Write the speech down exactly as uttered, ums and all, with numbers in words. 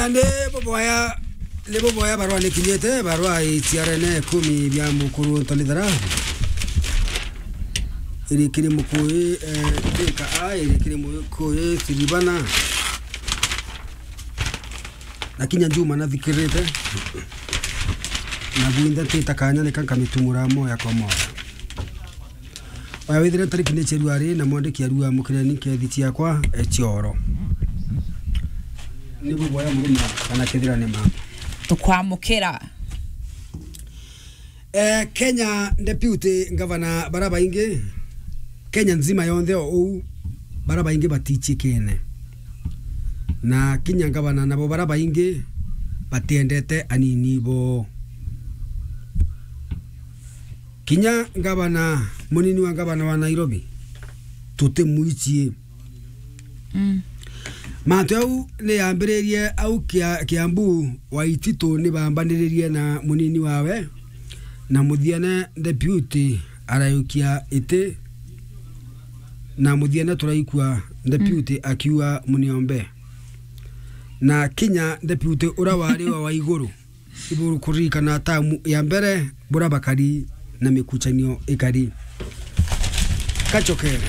Ni buboya, ni buboya barua nikinyite, barua iciarene ikumi bia mukuru Ntoni Thara. Iri kiri Mukuyu, eh, Thika A, iri kiri Mukuyu Siribana. Na kinya Juma nathikirite. Na bwinthe ntita kanya nika nkamitumura moya kwa moya. Oya withire ntariki ni cia rua ri na mwandiki arua mukireni nkethi ciakwa, e, cioro. Ni buboya murima kana kethira ni ma. Tukwamukira. Eh, Kenya Deputy Governor bara baingi, Kenya nzima yonthe o uu, bara baingi batichikene. Na kinya ngavana nabo bara baingi batiendete anini bo. Kinya ngavana, munini wa ngavana wa Nairobi, tutimwichie. Mm. Mantu au ni yambiririe au Kia-, Kiambu, Waititu ni bambaniririe na munini wawe, na muthiene Deputy arayukia iti, na muthiene turaikua Deputy akiuga muniombe. Na kinya Deputy ura wari wa, wa iguru, iburu kuririkana tamu ya mbere bura bakari na mikuchanio ikari. Kachokere.